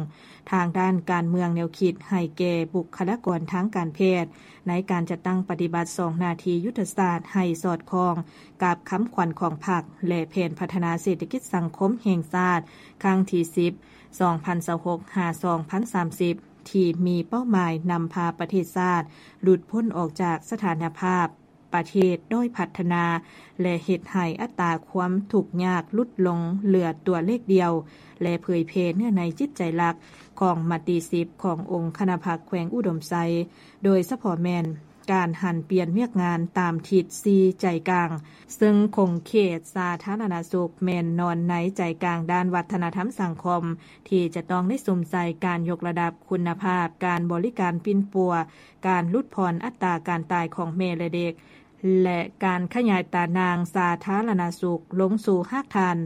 ທາງດ້ານການເມືອງແນວຄິດ ໃຫ້ແກ່ບຸກຄະລາກອນທາງການແພດ ໃນການຈັດຕັ້ງປະຕິບັດສອງໜ້າທີ່ຍຸດທະສາດ ໃຫ້ສອດຄ່ອງກັບຄຳຂວັນຂອງພັກ ແລະ ແຜນພັດທະນາເສດຖະກິດສັງຄົມແຫ່ງຊາດ ຄັ້ງທີສິບ ສອງພັນຊາວຫົກ ຫາ ສອງພັນສາມສິບ ທີ່ມີເປົ້າໝາຍນຳພາປະເທດຊາດຫຼຸດພົ້ນອອກຈາກສະຖານະພາບ ປະເທດດ້ອຍພັດທະນາ ແລະ ເຮັດໃຫ້ອັດຕາຄວາມທຸກຍາກຫຼຸດລົງເຫຼືອຕົວເລກດຽວ ແລະ ເຜີຍແຜ່ເນື້ອໃນຈິດໃຈຫຼັກຂອງມະຕິສິບຂອງອົງຄະນະພັກແຂວງອຸດົມໄຊ, ໂດຍສະເພາະແມ່ນການຫັນປ່ຽນວຽກງານຕາມທິດສີ່ໃຈກາງ, ເຊິ່ງຂົງເຂດສາທາລະນະສຸກແມ່ນນອນໃນໃຈກາງດ້ານວັດທະນະທຳສັງຄົມ ທີ່ຈະຕ້ອງໄດ້ສຸມໃສ່ການຍົກລະດັບຄຸນນະພາບການບໍລິການປິ່ນປົວ, ການຫຼຸດຜ່ອນອັດຕາການຕາຍຂອງແມ່ ແລະ ເດັກ ແລະ ການຂະຫຍາຍຕາໜ່າງສາທາລະນະສຸກລົງສູ່ຮາກຖານ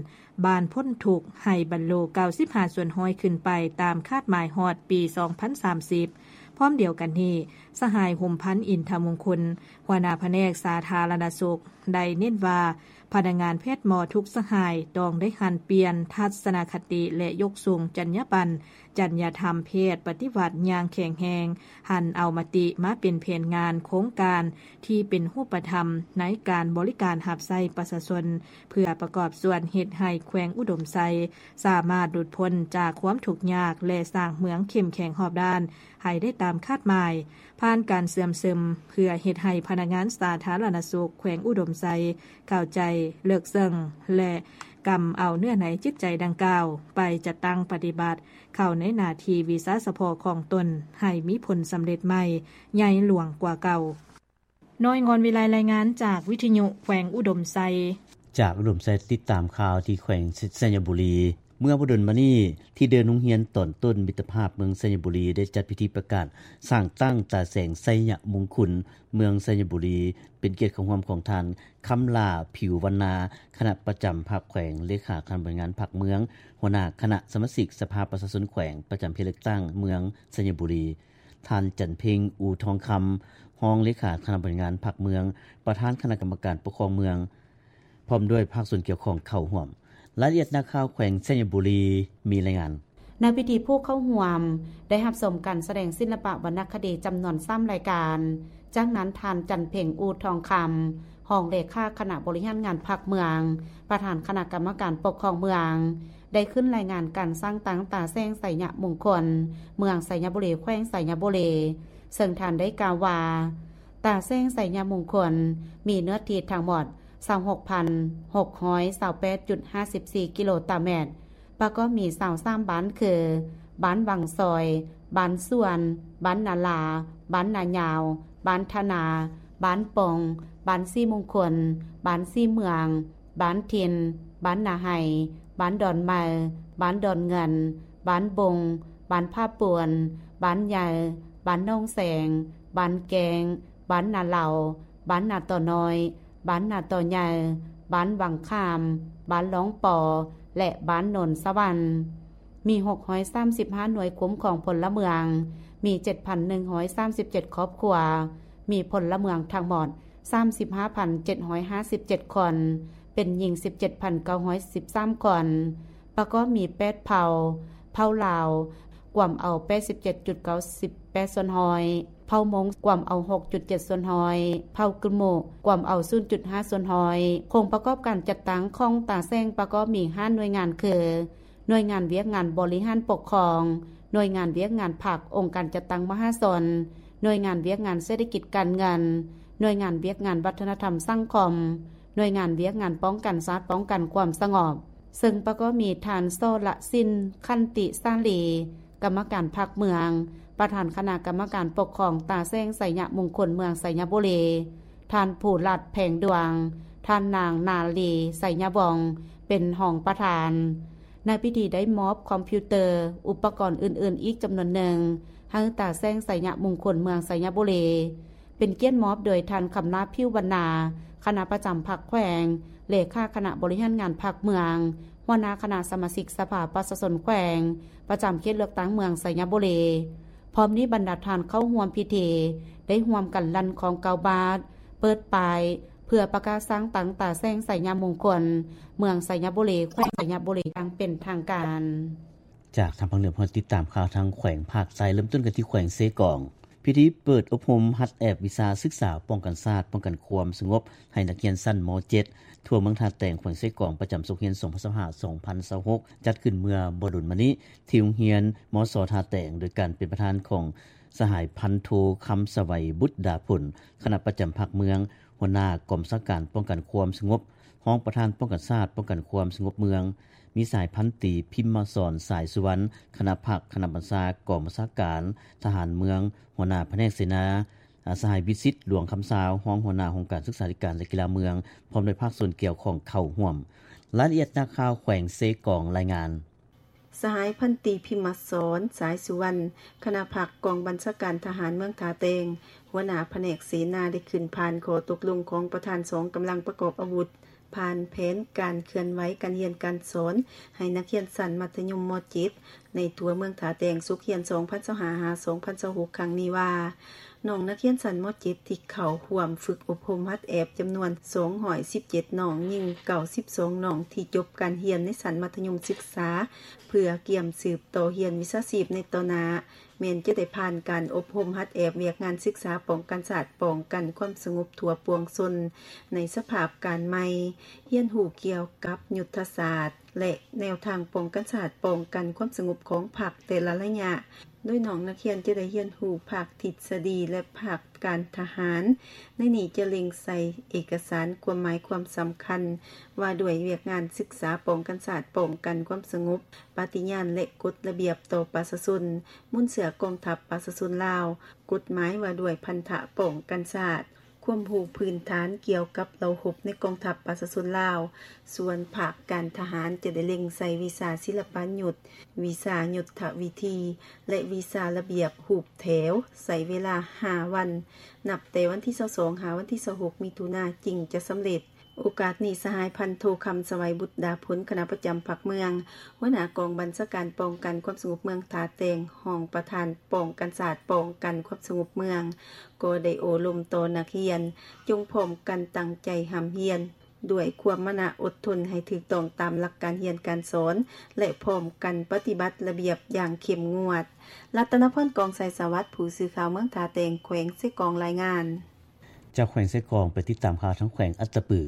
ບ້ານພົ້ນທຸກໃຫ້ບັນລຸເກົ້າສິບຫ້າສ່ວນຮ້ອຍຂຶ້ນໄປຕາມຄາດໝາຍຮອດປີສອງພັນສາມສິບ. ພ້ອມດຽວກັນນີ້, ສະຫາຍ ຫຸມພັນ ອິນທະມຸງຄຸນ, ຫົວໜ້າພະແນກສາທາລະນະສຸກ ໄດ້ເນັ້ນວ່າ ພະນັກງານແພດໝໍທຸກສະຫາຍ ຕ້ອງໄດ້ຫັນປ່ຽນທັດສະນະຄະຕິ ແລະ ຍົກສູງຈັນຍາບັນ, ຈັນຍາທຳແພດປະຕິວັດຢ່າງແຂງແຮງ, ຫັນເອົາມະຕິມາເປັນແຜນງານໂຄງການທີ່ເປັນຮູບປະທຳໃນການບໍລິການຮັບໃຊ້ປະຊາຊົນ, ເພື່ອປະກອບສ່ວນເຮັດໃຫ້ແຂວງອຸດົມໄຊ ສາມາດຫຼຸດພົ້ນຈາກຄວາມທຸກຍາກ ແລະ ສ້າງເມືອງເຂັ້ມແຂງຮອບດ້ານໃຫ້ໄດ້ຕາມຄາດໝາຍ, ຜ່ານການເຊື່ອມຊຶມ ເພື່ອເຮັດໃຫ້ພະນັກງານສາທາລະນະສຸກແຂວງອຸດົມໄຊ ເຂົ້າໃຈເລິກເຊິ່ງ ແລະ ກຳເອົາເນື້ອໃນຈິດໃຈດັ່ງກ່າວ ໄປຈັດຕັ້ງປະຕິບັດເຂົ້າໃນໜ້າທີ່ວິຊາສະເພາະຂອງຕົນ ໃຫ້ມີຜົນສຳເລັດໃໝ່ ໃຫຍ່ຫຼວງກວ່າເກົ່າ. ນ້ອຍງອນວິໄລ ລາຍງານຈາກວິທະຍຸແຂວງອຸດົມໄຊ. ຈາກອຸດົມໄຊ ຕິດຕາມຂ່າວທີ່ແຂວງໄຊຍະບູລີ. ເມື່ອບໍ່ດົນມານີ້ ທີ່ເດີ່ນໂຮງຮຽນຕອນຕົ້ນມິດຕະພາບເມືອງໄຊຍະບູລີ ໄດ້ຈັດພິທີປະກາດສ້າງຕັ້ງຕາແສງໄຊຍະມຸງຄຸນເມືອງໄຊຍະບູລີ ເປັນກຽດເຂົ້າຮ່ວມຂອງທ່ານ ຄຳຫຼ້າ ຜິວວັນນາ ຄະນະປະຈຳພັກແຂວງ, ເລຂາຄະນະບໍລິຫານງານພັກເມືອງ, ຫົວໜ້າຄະນະສະມາຊິກສະພາປະຊາຊົນແຂວງ ປະຈຳເຂດເລືອກຕັ້ງເມືອງໄຊຍະບູລີ, ທ່ານ ຈັນເພັງ ອູທອງຄຳ ຮອງເລຂາຄະນະບໍລິຫານງານພັກເມືອງ, ປະທານຄະນະກຳມະການປົກຄອງເມືອງ ພ້ອມດ້ວຍພາກສ່ວນກ່ຽວຂ້ອງເຂົ້າຮ່ວມ. ລາຍລະອຽດນັກຂ່າວແຂວງໄຊຍະບູລີມີລາຍງານ. ໃນພິທີຜູ້ເຂົ້າຮ່ວມໄດ້ຮັບຊົມການສະແດງສິລະປະວັນນະຄະດີຈຳນວນສາມລາຍການ. ຈາກນັ້ນທ່ານ ຈັນເພັງ ອູທອງຄຳ ຮອງເລຂາຄະນະບໍລິຫານງານພັກເມືອງ, ປະທານຄະນະກຳມະການປົກຄອງເມືອງ ໄດ້ຂຶ້ນລາຍງານການສ້າງຕັ້ງຕາແສງໄຊຍະມຸງຄຸນເມືອງໄຊຍະບູລີ ແຂວງໄຊຍະບູລີ, ເຊິ່ງທ່ານໄດ້ກ່າວວ່າ ຕາແສງໄຊຍະມຸງຄຸນມີເນື້ອທີ່ທັງໝົດ ຊາວຫົກພັນຫົກຮ້ອຍຊາວແປດຈຸດຫ້າສິບສີ່ກິໂລຕາແມັດ, ປະກອບມີຊາວສາມບ້ານຄື ບ້ານວັງຊອຍ, ບ້ານສວນ, ບ້ານນາລາ, ບ້ານນາຍາວ, ບ້ານທະນາ, ບ້ານປ່ອງ, ບ້ານສີມຸງຄຸນ, ບ້ານສີເມືອງ, ບ້ານຖິ່ນ, ບ້ານນາໄຮ, ບ້ານດອນໃໝ່, ບ້ານດອນເງິນ, ບ້ານບົງ, ບ້ານຜາປວນ, ບ້ານໃຫຍ່, ບ້ານໜອງແສງ, ບ້ານແກ້ງ, ບ້ານນາເລົາ, ບ້ານນາຕໍນ້ອຍ, ບ້ານນາຕໍໃຫຍ່, ບ້ານວັງຂາມ, ບ້ານລ່ອງປໍ ແລະ ບ້ານໂນນສະຫວັນ. ມີຫົກຮ້ອຍສາມສິບຫ້າໜ່ວຍຄຸ້ມຄອງພົນລະເມືອງ, ມີເຈັດພັນໜຶ່ງຮ້ອຍສາມສິບເຈັດຄອບຄົວ, ມີພົນລະເມືອງທັງໝົດສາມສິບຫ້າພັນເຈັດຮ້ອຍຫ້າສິບເຈັດຄົນ, ເປັນຍິງສິບເຈັດພັນເກົ້າຮ້ອຍສິບສາມຄົນ, ປະກອບມີແປດເຜົ່າ, ເຜົ່າລາວ ກວມເອົາແປດສິບເຈັດຈຸດເກົ້າສິບແປດສ່ວນຮ້ອຍ, ເຜົ່າມົ້ງກວມເອົາຫົກຈຸດເຈັດສ່ວນຮ້ອຍ, ເຜົ່າກຶມມຸກວມເອົາສູນຈຸດຫ້າສ່ວນຮ້ອຍ. ໂຄງປະກອບການຈັດຕັ້ງຂອງຕາແສງປະກອບມີຫ້າໜ່ວຍງານຄື ໜ່ວຍງານວຽກງານບໍລິຫານປົກຄອງ, ໜ່ວຍງານວຽກງານພັກອົງການຈັດຕັ້ງມະຫາຊົນ, ໜ່ວຍງານວຽກງານເສດຖະກິດການເງິນ, ໜ່ວຍງານວຽກງານວັດທະນະທຳສັງຄົມ, ໜ່ວຍງານວຽກງານປ້ອງກັນຊາດ ປ້ອງກັນຄວາມສະຫງົບ, ເຊິ່ງປະກອບມີທ່ານ ສໍລະສິນ ຂັນຕິສາລີ ກຳມະການພັກເມືອງ, ປະທານຄະນະກຳມະການປົກຄອງຕາແສງໄຊຍະມຸງຄຸນເມືອງໄຊຍະບູລີ, ທ່ານ ພູລັດ ແພງດວງ, ທ່ານນາງ ນາລີ ໄຊຍະວົງ ເປັນຮອງປະທານ. ໃນພິທີໄດ້ມອບຄອມພິວເຕີ, ອຸປະກອນອື່ນໆອີກຈຳນວນໜຶ່ງ ໃຫ້ຕາແສງໄຊຍະມຸງຄຸນເມືອງໄຊຍະບູລີ, ເປັນກຽດມອບໂດຍທ່ານ ຄຳຫຼ້າ ຜິວວັນນາ ຄະນະປະຈຳພັກແຂວງ, ເລຂາຄະນະບໍລິຫານງານພັກເມືອງ, ຫົວໜ້າຄະນະສະມາຊິກສະພາປະຊາຊົນແຂວງ ປະຈຳເຂດເລືອກຕັ້ງເມືອງໄຊຍະບູລີ. ພ້ອມນີ້ບັນດາທ່ານເຂົ້າຮ່ວມພິທີ ໄດ້ຮ່ວມກັນລັ່ນຄ້ອງເກົ້າບາດ, ເປີດປ້າຍ ເພື່ອປະກາດສ້າງຕັ້ງຕາແສງໄຊຍະມຸງຄຸນເມືອງໄຊຍະບູລີ ແຂວງໄຊຍະບູລີຢ່າງເປັນທາງການ. ຈາກທາງພາກເໜືອ ເຮົາຕິດຕາມຂ່າວທາງແຂວງພາກໃຕ້, ເລີ່ມຕົ້ນກັນທີ່ແຂວງເຊກອງ. ພິທີເປີດອົບຮົມຫັດແອບວິຊາສຶກສາປ້ອງກັນຊາດ ປ້ອງກັນຄວາມສະຫງົບ ໃຫ້ນັກຮຽນຊັ້ນ ມ.ເຈັດ ທົ່ວເມືອງທ່າແຕງ ແຂວງເຊກອງ ປະຈຳສົກຮຽນ ສອງພັນຊາວຫ້າ ສອງພັນຊາວຫົກ ຈັດຂຶ້ນເມື່ອບໍ່ດົນມານີ້ ທີ່ໂຮງຮຽນ ມສ ທ່າແຕງ ໂດຍການເປັນປະທານຂອງສະຫາຍພັນໂທ ຄຳສະໄຫວ ບຸດດາພົນ ຄະນະປະຈຳພັກເມືອງ, ຫົວໜ້າກອງບັນຊາການປ້ອງກັນຄວາມສະຫງົບ, ຮອງປະທານປ້ອງກັນຊາດ ປ້ອງກັນຄວາມສະຫງົບເມືອງ, ມີສະຫາຍພັນຕີ ພິມມະສອນ ສາຍສຸວັນ ຄະນະພັກ ຄະນະບັນຊາກອງບັນຊາການທະຫານເມືອງ, ຫົວໜ້າພະແນກເສນາ, ອາ ສະຫາຍ ວິສິດ ຫຼວງຄຳຊາວ ຮອງຫົວໜ້າຫ້ອງການສຶກສາທິການ ແລະ ກິລາເມືອງ ພ້ອມດ້ວຍພາກສ່ວນກ່ຽວຂ້ອງເຂົ້າຮ່ວມ. ລາຍລະອຽດ ນັກຂ່າວແຂວງເຊກອງລາຍງານ. ສະຫາຍພັນຕີ ພິມມະສອນ ສາຍສຸວັນ ຄະນະພັກກອງບັນຊາການທະຫານເມືອງທ່າແຕງ ຫົວໜ້າພະແນກເສນາ ໄດ້ຂຶ້ນຜ່ານຂໍ້ຕົກລົງຂອງປະທານສອງກຳລັງປະກອບອາວຸດ ຜ່ານແຜນການເຄື່ອນໄຫວການຮຽນການສອນໃຫ້ນັກຮຽນຊັ້ນມັດທະຍົມ ມ.ເຈັດ ໃນທົ່ວເມືອງທ່າແຕງ ສົກຮຽນ ສອງພັນຊາວຫ້າ ຫາ ສອງພັນຊາວຫົກ ຄັ້ງນີ້ວ່າ ນ້ອງນັກຮຽນຊັ້ນ ມ.ເຈັດ ທີ່ເຂົ້າຮ່ວມຝຶກອົບຮົມຫັດແອບ ຈຳນວນ ສອງຮ້ອຍສິບເຈັດ ນ້ອງ, ຍິງ ເກົ້າສິບສອງ ນ້ອງ ທີ່ຈົບການຮຽນໃນຊັ້ນມັດທະຍົມສຶກສາ ເພື່ອກຽມສືບຕໍ່ຮຽນວິຊາຊີບໃນຕໍ່ໜ້າ ແມ່ນຈະໄດ້ຜ່ານການອົບຮົມຫັດແອບວຽກງານສຶກສາປ້ອງກັນຊາດ, ປ້ອງກັນຄວາມສະຫງົບທົ່ວປວງຊົນ ໃນສະພາບການໃໝ່, ຮຽນຮູ້ກ່ຽວກັບຍຸດທະສາດ ແລະ ແນວທາງປ້ອງກັນຊາດ, ປ້ອງກັນຄວາມສະຫງົບຂອງພັກແຕ່ລະໄລຍະ, ໂດຍນ້ອງນັກຮຽນຈະໄດ້ຮຽນຮູ້ພາກທິດສະດີ ແລະ ພາກການທະຫານ. ໃນນີ້ຈະເລັງໃສ່ເອກະສານຄວາມໝາຍຄວາມສຳຄັນ ວ່າດ້ວຍວຽກງານສຶກສາປ້ອງກັນຊາດ, ປ້ອງກັນຄວາມສະຫງົບ, ປະຕິຍານ ແລະ ກົດລະບຽບຕໍ່ປະຊາຊົນ, ມູນເຊື້ອກອງທັບປະຊາຊົນລາວ, ກົດໝາຍວ່າດ້ວຍພັນທະປ້ອງກັນຊາດ, ຄວາມຮູ້ພື້ນຖານກ່ຽວກັບເຫຼົ່າຮົບໃນກອງທັບປະຊາຊົນລາວ. ສ່ວນພາກການທະຫານຈະໄດ້ເລັງໃສ່ວິຊາສິລະປະຍຸດ, ວິຊາຍຸດທະວິທີ ແລະ ວິຊາລະບຽບຮູບແຖວ, ໃຊ້ເວລາຫ້າວັນ, ນັບແຕ່ວັນທີຊາວສອງ ຫາວັນທີຊາວຫົກ ມິຖຸນາ ຈຶ່ງຈະສຳເລັດ. ໂອກາດນີ້ ສະຫາຍພັນໂທ ຄຳສະໄຫວ ບຸດດາຜົນ ຄະນະປະຈຳພັກເມືອງ, ຫົວໜ້າກອງບັນຊາການປ້ອງກັນຄວາມສະຫງົບເມືອງທ່າແຕງ, ຮອງປະທານປ້ອງກັນຊາດ, ປ້ອງກັນຄວາມສະຫງົບເມືອງ, ກໍໄດ້ໂອ້ລົມຕໍ່ນັກຮຽນ, ຈົ່ງພ້ອມກັນຕັ້ງໃຈຮ່ຳຮຽນ ດ້ວຍຄວາມມານະອົດທົນໃຫ້ຖືກຕ້ອງຕາມຫຼັກການຮຽນການສອນ ແລະ ພ້ອມກັນປະຕິບັດລະບຽບຢ່າງເຂັ້ມງວດ. ລັດຕະນະພອນ ກອງໄຊສະຫວັດ ຜູ້ສື່ຂ່າວເມືອງທ່າແຕງ ແຂວງເຊກອງ ລາຍງານ. ຈາກແຂວງເຊກອງ ໄປຕິດຕາມຂ່າວທາງແຂວງອັດຕະປື.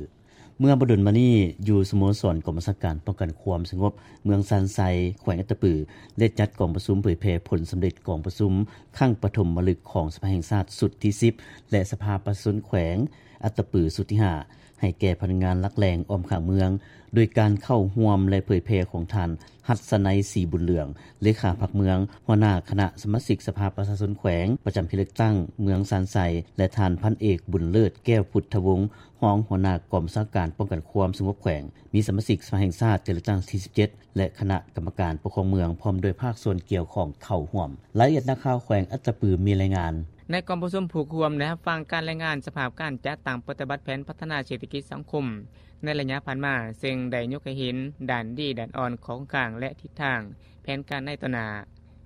ເມື່ອບໍ່ດົນມານີ້ ຢູ່ສະໂມສອນກອງບັນຊາການປ້ອງກັນຄວາມສະຫງົບເມືອງຊານໄຊ ແຂວງອັດຕະປື ໄດ້ຈັດກອງປະຊຸມເຜີຍແຜ່ຜົນສຳເລັດກອງປະຊຸມຄັ້ງປະຖົມມະລຶກຂອງສະພາແຫ່ງຊາດຊຸດທີສິບ ແລະ ສະພາປະຊາຊົນແຂວງອັດຕະປືຊຸດທີຫ້າ ໃຫ້ແກ່ພະນັກງານຫຼັກແຫຼ່ງອ້ອມຂ້າງເມືອງ ໂດຍການເຂົ້າຮ່ວມ ແລະ ເຜີຍແຜ່ຂອງທ່ານ ຫັດສະໄນ ສີບຸນເຫຼືອງ ເລຂາພັກເມືອງ, ຫົວໜ້າຄະນະສະມາຊິກສະພາປະຊາຊົນແຂວງ ປະຈຳເຂດເລືອກຕັ້ງເມືອງຊານໄຊ ແລະ ທ່ານ ພັນເອກ ບຸນເລີດ ແກ້ວພຸດທະວົງ ຮອງຫົວໜ້າກອງບັນຊາການປ້ອງກັນຄວາມສະຫງົບແຂວງ, ມີສະມາຊິກສະພາແຫ່ງຊາດເຂດເລືອກຕັ້ງທີສິບເຈັດ ແລະ ຄະນະກຳມະການປົກຄອງເມືອງ ພ້ອມດ້ວຍພາກສ່ວນກ່ຽວຂ້ອງເຂົ້າຮ່ວມ. ລາຍລະອຽດນັກຂ່າວແຂວງອັດຕະປືມີລາຍງານ. ໃນກອງປະຊຸມ ຜູ້ເຂົ້າຮ່ວມໄດ້ຮັບຟັງການລາຍງານສະພາບການຈັດຕັ້ງປະຕິບັດແຜນພັດທະນາເສດຖະກິດສັງຄົມໃນໄລຍະຜ່ານມາ, ເຊິ່ງໄດ້ຍົກໃຫ້ເຫັນດ້ານດີ, ດ້ານອ່ອນ, ຂອງກາງ ແລະ ທິດທາງແຜນການໃນຕໍ່ໜ້າ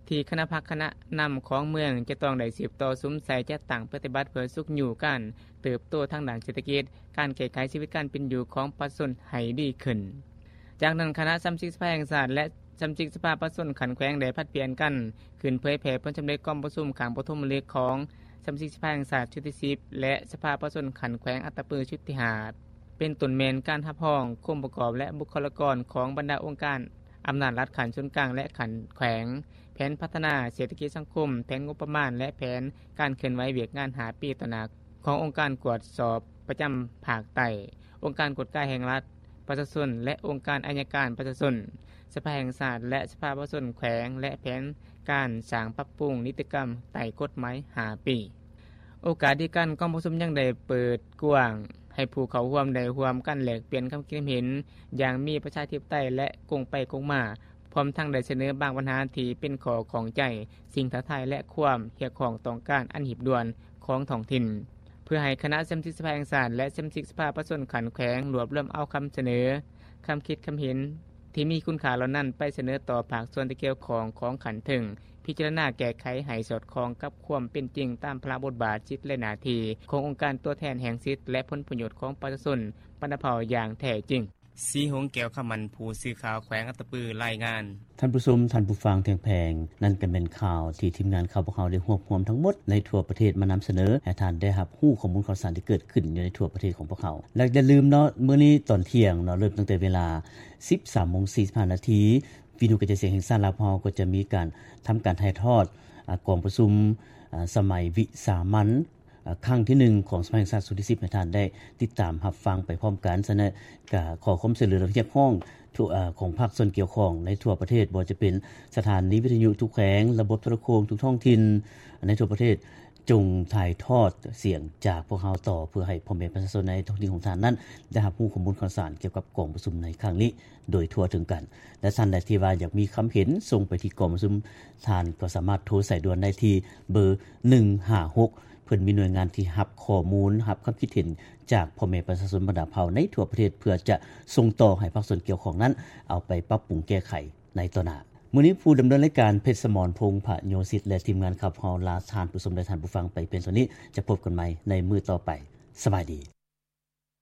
ທີ່ຄະນະພັກຄະນະນຳຂອງເມືອງຈະຕ້ອງໄດ້ສືບຕໍ່ສຸມໃສ່ຈັດຕັ້ງປະຕິບັດ ເພື່ອຊຸກຍູ້ການເຕີບໂຕທາງດ້ານເສດຖະກິດ, ການແກ້ໄຂຊີວິດການເປັນຢູ່ຂອງປະຊາຊົນໃຫ້ດີຂຶ້ນ. ຈາກນັ້ນ ຄະນະສະມາຊິກສະພາແຫ່ງຊາດ ແລະ ສະມາຊິກສະພາປະຊາຊົນຂັ້ນແຂວງໄດ້ຜັດປ່ຽນກັນຂຶ້ນເຜີຍແຜ່ຜົນສຳເລັດກອງປະຊຸມຄັ້ງປະຖົມມະລຶກຂອງສະມາຊິກສະພາແຫ່ງຊາດຊຸດທີສິບ ແລະ ສະພາປະຊາຊົນຂັ້ນແຂວງອັດຕະປືຊຸດທີຫ້າ ເປັນຕົ້ນແມ່ນການຮັບຮອງ ອົງປະກອບ ແລະ ບຸກຄະລາກອນຂອງບັນດາອົງການອຳນາດລັດຂັ້ນສູນກາງ ແລະ ຂັ້ນແຂວງ, ແຜນພັດທະນາເສດຖະກິດສັງຄົມ, ແຜນງົບປະມານ ແລະ ແຜນການເຄື່ອນໄຫວວຽກງານຫ້າປີຕໍ່ໜ້າ ຂອງອົງການກວດສອບປະຈຳພາກໃຕ້, ອົງການກວດກາແຫ່ງລັດປະຊາຊົນ ແລະ ອົງການໄອຍະການປະຊາຊົນ, ສະພາແຫ່ງຊາດ ແລະ ສະພາປະຊາຊົນແຂວງ ແລະ ແຜນການສ້າງປັບປຸງນິຕິກຳໃຕ້ກົດໝາຍຫ້າປີ. ໂອກາດດຽວກັນ, ກອງປະຊຸມຍັງໄດ້ເປີດກວ້າງໃຫ້ຜູ້ເຂົ້າຮ່ວມໄດ້ຮ່ວມກັນແລກປ່ຽນຄຳຄິດຄຳເຫັນຢ່າງມີປະຊາທິປະໄຕ ແລະ ກົງໄປກົງມາ, ພ້ອມທັງໄດ້ສະເໜີບາງບັນຫາທີ່ເປັນຂໍ້ຂ້ອງໃຈ, ສິ່ງທ້າທາຍ ແລະ ຄວາມຮຽກຮ້ອງຕ້ອງການອັນຮີບດ່ວນຂອງທ້ອງຖິ່ນ, ເພື່ອໃຫ້ຄະນະສະມາຊິກສະພາແຫ່ງຊາດ ແລະ ສະມາຊິກສະພາປະຊາຊົນຂັ້ນແຂວງລວບລວມເອົາຄຳສະເໜີ, ຄຳຄິດຄຳເຫັນທີ່ມີຄຸນຄ່າເຫຼົ່ານັ້ນໄປສະເໜີຕໍ່ພາກສ່ວນທີ່ກ່ຽວຂ້ອງຂອງຂັ້ນເທິງ, ພິຈາລະນາແກ້ໄຂໃຫ້ສອດຄ່ອງກັບຄວາມເປັນຈິງຕາມພາລະບົດບາດ, ສິດ ແລະ ໜ້າທີ່ຂອງອົງການຕົວແທນແຫ່ງສິດ ແລະ ຜົນປະໂຫຍດຂອງປະຊາຊົນບັນດາເຜົ່າຢ່າງແທ້ຈິງ. ສີຫົງ ແກ້ວຄຳໝັ້ນ ຜູ້ສື່ຂ່າວແຂວງອັດຕະປື ລາຍງານ. ທ່ານຜູ້ຊົມ, ທ່ານຜູ້ຟັງທີ່ຮັກແພງ, ນັ້ນກໍແມ່ນຂ່າວທີ່ທີມງານຂ່າວພວກເຮົາໄດ້ຮວບຮວມທັງໝົດໃນທົ່ວປະເທດມານຳສະເໜີ ໃຫ້ທ່ານໄດ້ຮັບຮູ້ຂໍ້ມູນຂ່າວສານທີ່ເກີດຂຶ້ນຢູ່ໃນທົ່ວປະເທດຂອງພວກເຮົາ. ແລະ ຢ່າລືມເນາະ, ມື້ນີ້ຕອນທ່ຽງເນາະ, ເລີ່ມຕັ້ງແຕ່ເວລາສິບສາມໂມງສີ່ສິບຫ້ານາທີ, ວິທະຍຸກະຈາຍສຽງແຫ່ງຊາດລາວພວກເຮົາກໍຈະມີການທຳການຖ່າຍທອດ, ອາ, ກອງປະຊຸມ, ອາ, ສະໄໝວິສາມັນ, ອາ, ຄັ້ງທີໜຶ່ງຂອງສະໄໝແຫ່ງຊາດຊຸດທີສິບ ໃຫ້ທ່ານໄດ້ຕິດຕາມຮັບຟັງໄປພ້ອມກັນ. ສະນັ້ນກະຂໍຄວາມຊ່ວຍເຫຼືອ ແລະ ຮຽກຮ້ອງ ຂອງພາກສ່ວນກ່ຽວຂ້ອງໃນທົ່ວປະເທດ, ບໍ່ວ່າຈະເປັນສະຖານີວິທະຍຸທຸກແຂວງ, ລະບົບໂທລະໂຄ່ງທຸກທ້ອງຖິ່ນໃນທົ່ວປະເທດ, ຈົ່ງຖ່າຍທອດສຽງຈາກພວກເຮົາຕໍ່ ເພື່ອໃຫ້ພໍ່ແມ່ປະຊາຊົນໃນທ້ອງຖິ່ນຂອງທ່ານນັ້ນ ໄດ້ຮັບຮູ້ຂໍ້ມູນຂ່າວສານກ່ຽວກັບກອງປະຊຸມໃນຄັ້ງນີ້ໂດຍທົ່ວເຖິງກັນ. ແລະ ທ່ານໃດທີ່ວ່າຢາກມີຄຳເຫັນ ສົ່ງໄປທີ່ກອງປະຊຸມ, ທ່ານກໍສາມາດໂທສາຍດ່ວນໄດ້ທີ່ເບີໜຶ່ງຫ້າຫົກ ເພິ່ນມີໜ່ວຍງານທີ່ຮັບຂໍ້ມູນ, ຮັບຄຳຄິດເຫັນຈາກພໍ່ແມ່ປະຊາຊົນບັນດາເຜົ່າໃນທົ່ວປະເທດ ເພື່ອຈະສົ່ງຕໍ່ໃຫ້ພາກສ່ວນກ່ຽວຂ້ອງນັ້ນເອົາໄປປັບປຸງແກ້ໄຂໃນຕໍ່ໜ້າ. ມື້ນີ້ຜູ້ດຳເນີນລາຍການ ເພັດສະໝອນ ພົງພະໂຍສິດ ແລະ ທີມງານ ຂັບເຮົາ ລາທ່ານຜູ້ຊົມ ແລະ ທ່ານຜູ້ຟັງ ໄປພຽງເທົ່ານີ້. ຈະພົບກັນໃໝ່ ໃນມື້ຕໍ່ໄປ. ສະບາຍດີ.